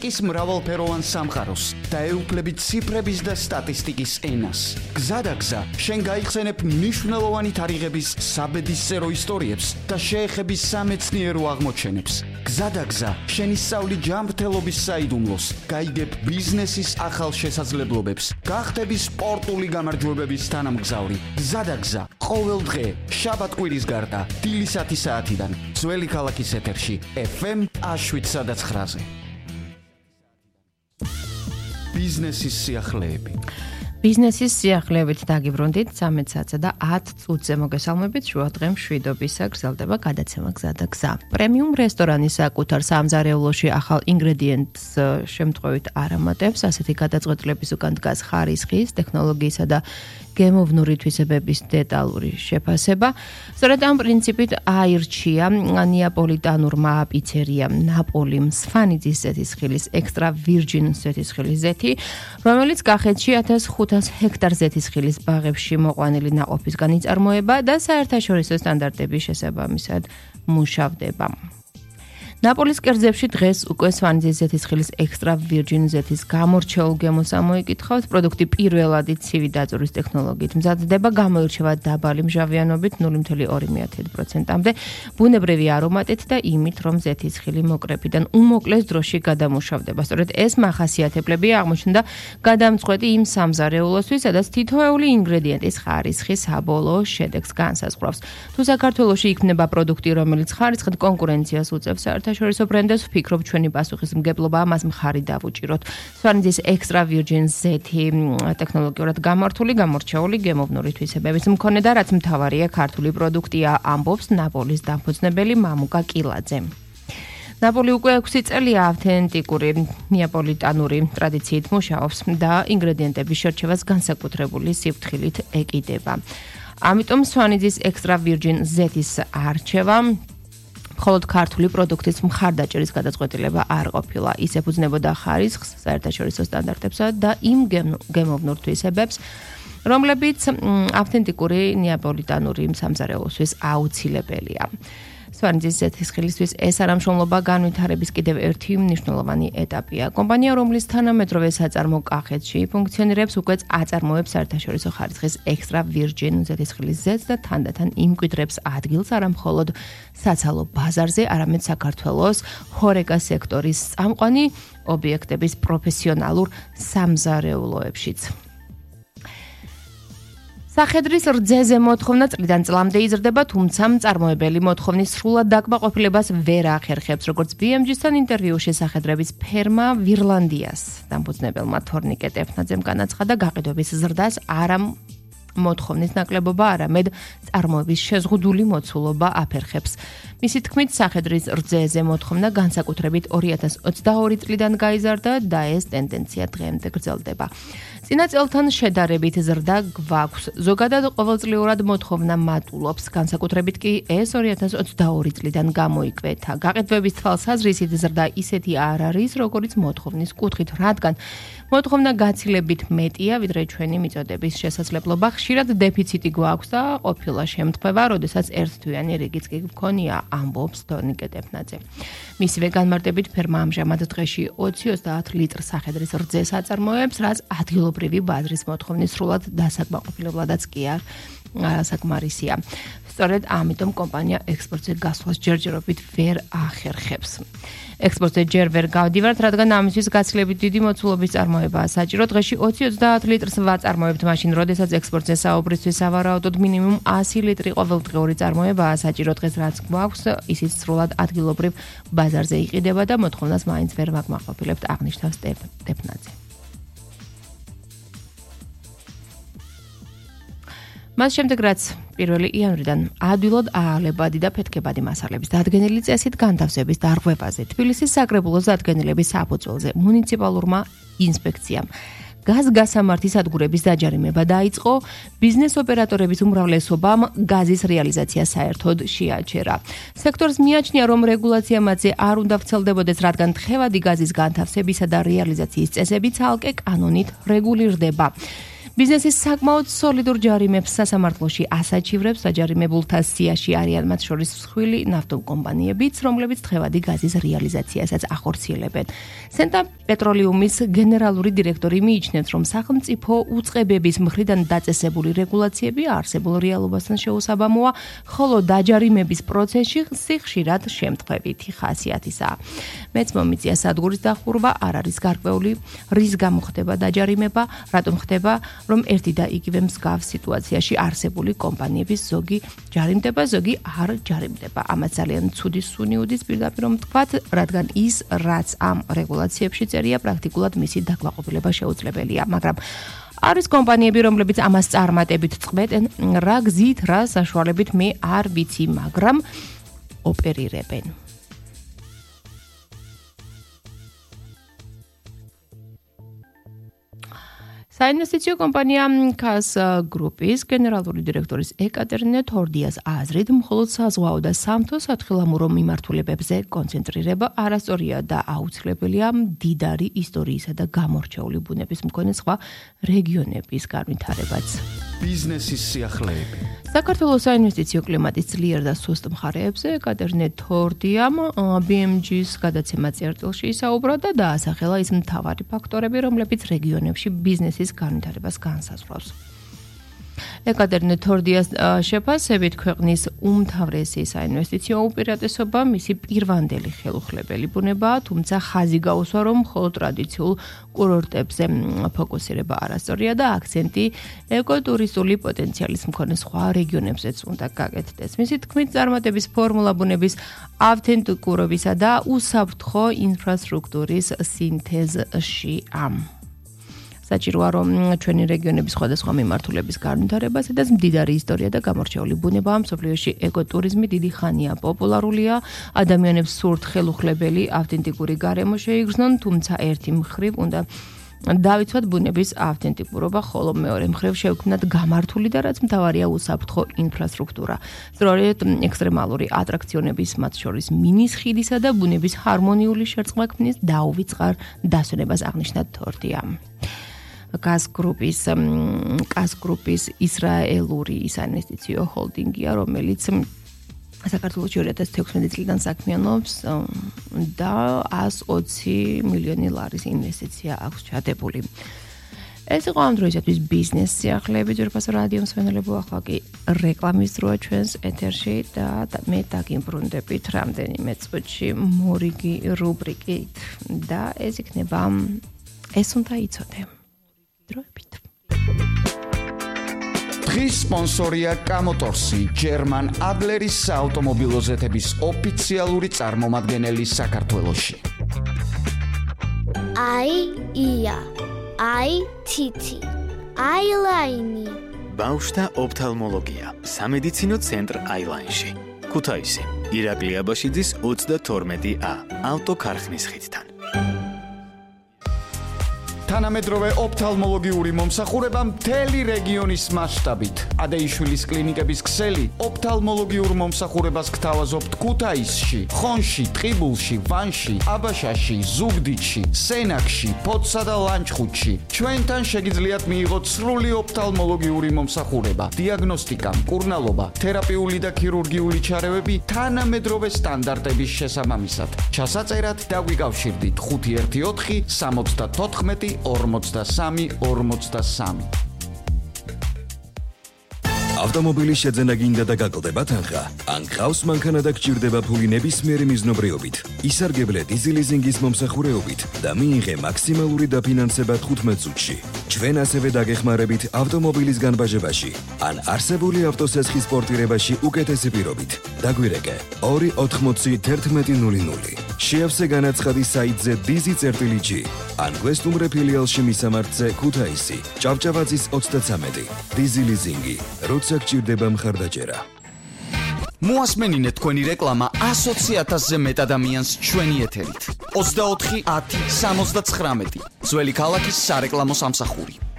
ის მრავალფეროვან სამყაროს და ეუფლებით ციფრების და სტატისტიკის ენას. გზადაგზა შენ გაიხსენებ მნიშვნელოვანი თარიღების საბედისწერო ისტორიებს და შეეხების სამეცნიერო აღმოჩენებს. გზადაგზა შენ ისწავლი ჯანმრთელობის საიდუმლოს, გაიგებ ბიზნესის ახალ შესაძლებლობებს, გახდები სპორტული გამარჯვებების თანამგზავრი. გზადაგზა ყოველ დღე შაბათ-კვირის გარდა დილის 10 საათიდან ძველი ქალაქის ეთერში FM 107.9-ზე. ბიზნესის სიახლეები. ბიზნესის სიახლეებით დაგიბრუნდით 13 საათსა და 10 წუთზე მოგესალმებით. შუა დღე მშვიდობისა გრძელდება გადაცემა გზა და გზა. პრემიუმ რესტორანის საკუთარ სამზარეულოში ახალ ინგრედიენტს შემთხვევით არ ამატებს. ასეთი გადაწყვეტილების უკან დგას ხარისხის, ტექნოლოგიისა და გემოვნური თვისებების დეტალური შეფასება. სწორედ ამ პრინციპით აირჩია ნეაპოლიტანურმა პიცერიამ ნაპოლიმ სვანიძის ზეთისხილის ექსტრა ვირჯინ ზეთისხილის ზეთი, რომელიც კახეთში 1500 ჰექტარ ზეთისხილის ბაღებში მოყვანილი ნაყოფისგან იწარმოება და საერთაშორისო სტანდარტების შესაბამისად მუშავდება. ნაპოლის კერძებში დღეს უკვე სვანიძის ზეთისხილის ექსტრა ვირჯინ ზეთის გამორჩეულ გემოს ამოიკითხავთ. პროდუქტი პირველადი ცივი დაწურის ტექნოლოგიით მზადდება, გამოირჩევა დაბალი მჟავიანობით 0,2%-მდე, ბუნებრივი არომატით და იმით, რომ ზეთისხილი მოკრეფიდან უმოკლეს დროში გადამუშავდება. სწორედ ეს მახასიათებლები აღმოჩნდა გადამწყვეტი იმ სამზარეულოსთვის, სადაც თითოეული ინგრედიენტის ხარისხი საბოლოო შედეგს განსაზღვრავს. თუ საქართველოში იქმნება პროდუქტი, რომელიც ხარისხით კონკურენციას უწევს საერთაშორისო ბრენდებს, ვფიქრობ, ჩვენი პასუხისმგებლობა მას მხარი დავუჭიროთ. სვანიძის ექსტრა ვირჯინ ზეთი ტექნოლოგიურად გამართული, გამორჩეული გემოვნური თვისებების მქონე და რაც მთავარია, ქართული პროდუქტია, ამბობს ნაპოლის დამფუძნებელი მამუკა კილაძე. ნაპოლი უკვე 6 წელია ავთენტიკური ნეაპოლიტანური ტრადიციით მუშაობს და ინგრედიენტების შერჩევას განსაკუთრებული სიფრთხილით ეკიდება. ამიტომ სვანიძის ექსტრა ვირჯინ ზეთის არჩევა მხოლოდ ქართული პროდუქტის მხარდაჭერის გადაწყვეტილება არ ყოფილა. ის ეფუძნებოდა ხარისხს, საერთაშორისო სტანდარტებსა და იმ გემოვნურ თვისებებს, რომლებიც ავთენტიკური ნეაპოლიტანური სამზარეულოსთვის აუცილებელია. სვანიძის ზეთისხილისთვის ეს არამშრომლობა განვითარების კიდევ ერთი მნიშვნელოვანი ეტაპია. კომპანია, რომლის თანამედროვე საწარმო კახეთში ფუნქციონირებს, უკვე აწარმოებს საერთაშორისო ხარისხის ექსტრა ვირჯინ ზეთისხილის ზეთს და თანდათან იმკვიდრებს ადგილს არა მხოლოდ საცალო ბაზარზე, არამედ საქართველოს ჰორეკა სექტორის წამყვანი ობიექტების პროფესიონალურ სამზარეულოებშიც. სახედრის რძეზე მოთხოვნა წლიდან წლამდე იზრდება, თუმცა მწარმოებელი მოთხოვნის სრულად დაკმაყოფილებას ვერ ახერხებს, როგორც BMG-სთან ინტერვიუში სახედრების ფერმა ვირლანდიას დამფუძნებელმა თორნიკე ტეფნაძემ განაცხადა, გაყიდვების ზრდას არა მოთხოვნის ნაკლებობა, არამედ წარმოების შეზღუდული მოცულობა აფერხებს. მისი თქმით, სახედრის რძეზე მოთხოვნა განსაკუთრებით 2022 წლიდან გაიზარდა და ეს ტენდენცია დღემდე გრძელდება. წინა წელთან შედარებით ზრდა გვაქვს. ზოგადად ყოველწლიურად მოთხოვნა მატულობს, განსაკუთრებით კი ეს 2022 წლიდან გამოიკვეთა. გაყიდვების თვალსაზრისით ზრდა ისეთი არ არის, როგორც მოთხოვნის კუთხით, რადგან მოთხოვნა გაცილებით მეტია, ვიდრე ჩვენი მიწოდების შესაძლებლობა. ხშირად დეფიციტი გვაქვს და ყოფილა შემთხვევა, როდესაც ერთთვიანი რიგიც კი გქონია, ამბობს თორნიკე ტეფნაძე. მისივე განმარტებით, ფერმა ამჟამად დღეში 20-30 ლიტრ სახედრის რძეს აწარმოებს, რაც ადგილობრივი ბაზრის მოთხოვნის სრულად დასაკმაყოფილებლადაც კი არ საკმარისია. სწორედ ამიტომ კომპანია ექსპორტზე გასვლას ჯერჯერობით ვერ ახერხებს. ექსპორტზე ჯერ ვერ გავდივართ, რადგან ამისთვის გაცილებით დიდი მოცულობის წარმოებაა საჭირო. დღეში 20-30 litrს ვაწარმოებთ, მაშინ როდესაც ექსპორტზე საუბრისთვის სავარაუდოდ მინიმუმ 100 ლიტრი ყოველდღიური წარმოებაა საჭირო. დღეს რაც გვაქვს, ისიც სრულად ადგილობრივ ბაზარზე იყიდება და მოთხოვნას მაინც ვერ ვაკმაყოფილებთ, აღნიშნავს ტეფნაძე. მას შემდეგ, რაც 1 იანვრიდან ადვილად აალებადი და ფეთქებადი მასალების დადგენილი წესით განთავსების დარღვევაზე, თბილისის საკრებულოს დადგენილების საფუძველზე მუნიციპალურმა ინსპექციამ გაზგასამართი სადგურების დაჯარიმება დაიწყო, ბიზნეს ოპერატორების უმრავლესობამ გაზის რეალიზაცია საერთოდ შეაჩერა. სექტორს მიაჩნია, რომ რეგულაცია მათზე არ უნდა ვრცელდებოდეს, რადგან თხევადი გაზის განთავსებისა და რეალიზაციის წესები ცალკე კანონით რეგულირდება. ბიზნესის საკმაოდ სოლიდურ ჯარიმებს სასამართლოში ასაჩივრებს საჯარიმებულთა სიაში არიან მათ შორის მსხვილი ნავთობკომპანიებიც, რომლებიც თხევადი გაზის რეალიზაციასაც ახორციელებენ. სენტა პეტროლიუმის გენერალური დირექტორი მიიჩნევს, რომ სახელმწიფო უწყებების მხრიდან დაწესებული რეგულაციები არსებულ რეალობასთან შეუსაბამოა, ხოლო დაჯარიმების პროცესში ხშირად შემთხვევითი ხასიათისაა. მეც მომიწია სადგურის დახურვა არ არის გარკვეული, რის გამო ხდება დაჯარიმება, რატომ ხდება, რომ ერთი და იგივე მსგავს სიტუაციაში არსებული კომპანიების ზოგი ჯარიმდება, ზოგი არ ჯარიმდება. ამას ძალიან ცუდი სუნი უდის პირდაპირ ვთქვათ, რადგან ის, რაც ამ რეგულაციებში წერია, პრაქტიკულად მისი დაკვაყოფილება შეუძლებელია, მაგრამ არის კომპანიები, რომლებიც ამას წარმატებით წყვეტენ, რა გზით, რა საშუალებით მე არ ვიცი, მაგრამ ოპერირებენ. საინვესტიციო კომპანია KAS გრუპის გენერალური დირექტორის ეკატერინე თორდიას აზრით, მხოლოდ საზღვაო და სამთო სათხილამურო მიმართულებებზე კონცენტრირება არასწორია და აუცილებელია მდიდარი ისტორიისა და გამორჩეული ბუნების მქონე სხვა რეგიონების განვითარებაც. ბიზნესის სიახლეები. საქართველოს საინვესტიციო კლიმატის ძლიერ და სუსტ მხარეებზე ეკატერინე თორდიამ BMG-ს გადაცემა წერტილში ისაუბრა და დაასახელა ის მთავარი ფაქტორები, რომლებიც რეგიონებში ბიზნესის განვითარებას განსაზღვრავს. ეკატერინე თორდიას შეფასებით ქვეყნის უმთავრესი საინვესტიციო უპირატესობა მისი პირვანდელი ხელუხლებელი ბუნებაა, თუმცა ხაზი გაუსვა, რომ მხოლოდ ტრადიციულ კურორტებზე ფოკუსირება არასწორია და აქცენტი ეკოტურისტული პოტენციალის მქონე სხვა რეგიონებზეც უნდა გაკეთდეს. მისი თქმით, წარმატების ფორმულა ბუნების ავთენტიკურობისა და უსაფრთხო ინფრასტრუქტურის სინთეზშია. საჭიროა, რომ ჩვენი რეგიონების სხვადასხვა მიმართულების განვითარებას და მდიდარი ისტორია და გამორჩეული ბუნება მსოფლიოში ეკოტურიზმი დიდი ხანია პოპულარულია, ადამიანებს სურთ ხელუხლებელი ავთენტიკური გარემო შეიგრძნონ, თუმცა ერთი მხრივ უნდა დავიცვათ ბუნების ავთენტიკურობა, ხოლო მეორე მხრივ შევქმნათ გამართული და რაც მთავარია უსაფრთხო ინფრასტრუქტურა. სწორედ ექსტრემალური ატრაქციონების, მათ შორის მინის ხიდისა და ბუნების ჰარმონიული შერწყმა ქმნის დაუვიწყარ დასვენებას აღნიშნა თორდიამ. KAS გრუპის ისრაელური საინვესტიციო ჰოლდინგია, რომელიც საქართველოში 2016 წლიდან საქმიანობს და 120 მილიონი ლარის ინვესტიცია აქვს ჩადებული. ეს იყო ამ დროისათვის ბიზნეს სიახლეები, ძვირფასო რადიო მსმენელებო, ახლა კი რეკლამის დროა ჩვენს ეთერში და მე დაგიმბრუნდებით რამდენიმე წუთში მორიგი რუბრიკით და ეს იქნება ეს უნდა იცოდე. დღის სპონსორია კამოტორსი, ჯერმან ადლერის საავტომობილო ზეთების ოფიციალური წარმომადგენელი საქართველოში. ია, თითი, აილაინი. ბავშვთა ოფთალმოლოგია, სამედიცინო ცენტრ აილაინში. ქუთაისი, ირაკლი აბაშიძის 32A, ავტოქარხნის ხიდთან. თანამედროვე ოფთალმოლოგიური მომსახურება მთელი რეგიონის მასშტაბით. ადეიშვილის კლინიკების ქსელი ოფთალმოლოგიურ მომსახურებას გთავაზობთ ქუთაისში, ხონში, ტყიბულში, ვანში, აბაშაში, ზუგდიდში, სენაკში, ფოთსა და ლანჩხუთში. ჩვენთან შეგიძლიათ მიიღოთ სრული ოფთალმოლოგიური მომსახურება, დიაგნოსტიკა, მკურნალობა, თერაპიული და ქირურგიული ჩარევები თანამედროვე სტანდარტების შესაბამისად. ჩასაწერად დაგვიკავშირდით 514 74 43. ავტომობილის შეძენა გინდა და გაკლდება თანხა? ან გყავს მანქანა და გჭირდება ფული ნებისმიერი მიზნობრიობით, ისარგებლე დიზელიზინგის მომსახურეობით და მიიღე მაქსიმალური დაფინანსება 15 წუთში. ჩვენ ასევე დაგეხმარებით ავტომობილის განბაჟებაში ან არსებული ავტოსესხის პორტირებაში უკეთესი პირობით. დაგვირეკე 280 შეავსე განაცხადი საიტზე dizi.g ან გვესტუმრე ფილიალში მისამართზე ქუთაისი, ჭავჭავაძის 33. დიზელიზინგი, როცა გჭირდება მხარდაჭერა. მოასმენინეთ თქვენი რეკლამა 120,000-ზე მეტ ადამიანს ჩვენი ეთერით. 24 10 79 ძველი ქალაქის სარეკლამო სამსახური.